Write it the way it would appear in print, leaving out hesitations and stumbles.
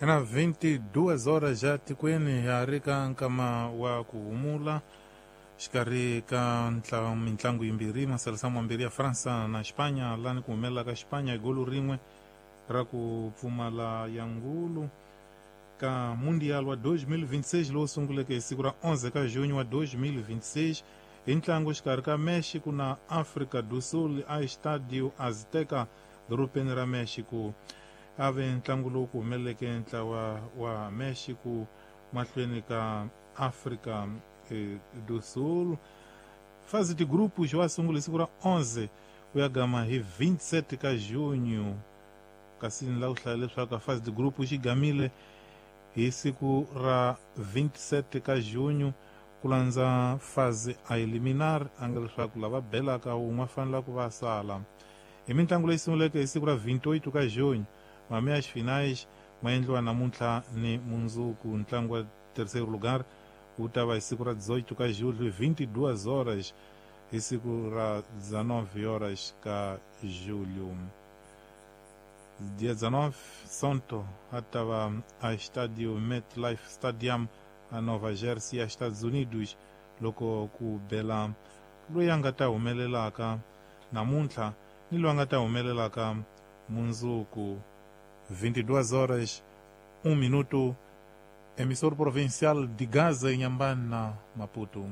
Ena 22 horas ja tikweni ya ri ka nkama wa ku humula xikarhi ka mitlangu yimbirhi, masalasamo mambirhi ya Fransa na Xipanya, lani ku humelela ka Xipanya hi golo rin'we ra ku pfumala ya ngulu ka Mundial wa 2026 lowu sunguleke hi siku ra 11 ka junho wa 2026 hi ntlangu xikarhi ka Mexico na Afrika do Sul a Estadio Azteca dorobeni ra Mexico. A ve ntlangu lowu ku humeleleke ntlawa wa Mexico mahlweni ka Afrika do Sul. Fase de grupos wa sungula hi siku ra 11 ku ya gama hi 27 ka junho, kasi ni lava ku hlaya leswaku fase de grupos xi gamile hi siku ra 27 ka junho ku landza fase a eliminar, a nga leswaku lava belaka wun'we fanela ku va sala. Hi mitlangu leyi sunguleke hi siku ra 28 ka junho, mameias finais ma endliwa namuntlha ni mundzuku. Ntlangu wa terceiro lugar wu ta va hi siku ra 18 ka julho 22 horas, hi siku ra 19 horas ka julho. Dia 19 Sonto a ta va a Estadio MetLife Stadium a Nova Jersey a Estados Unidos, loko ku bela loyi a nga ta humelelaka namuntlha ni loyi a nga ta humelelaka mundzuku. 22 horas 1 minuto, emissor provincial de Gaza, Inhambane, Maputo.